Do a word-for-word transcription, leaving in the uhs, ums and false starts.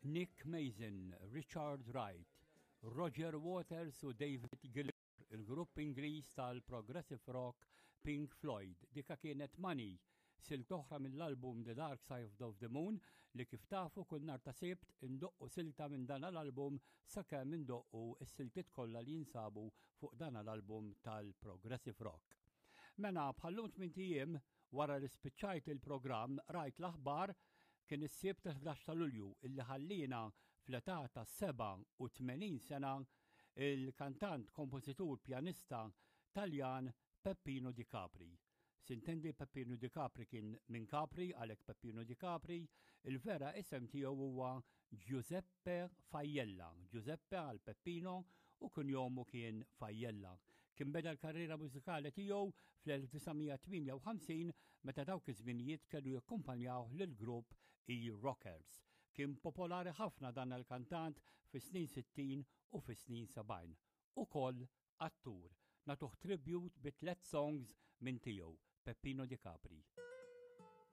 Nick Mason, Richard Wright, Roger Waters u David Gilmour, il-grupp Ingliż tal-Progressive Rock Pink Floyd. Dika kienet Money, silta oħra mill-album The Dark Side of the Moon, li kif tafu kull nhar ta' Sibt indoqqu silta minn dan l-album sakemm indoqqu s-siltiet kollha li jinsabu fuq dan l-album tal-Progressive Rock. Mela, bħal-lum tmint ijiem wara li spiċċajt il-programm rajt l-aħbar, kien is-Sibt tal-ħdax ta' Lulju, illi ħallina fl-età ta' sebgħa u tmenin sena il-kantant, kompożitur, pjanista Taljan Peppino Di Capri. Sintendi, Peppino Di Capri kien minn Capri, għalhekk Peppino Di Capri, il-vera isem tiegħu huwa Giuseppe Faiella. Giuseppe għal Peppino u kunjomu kien Faiella. Kien beda l-karriera mużikali tiegħu fl-elf disa' mija tmienja u ħamsin meta dawk iż-żminijiet kellu jakkumpanjaw lill-grupp E-Rockers. Kien popolari ħafna dan il-kantant fis-snin sittin u fis-snin sebgħin. Ukoll attur. Nagħtuh tribute bi tliet songs minn tiegħu, Peppino Di Capri.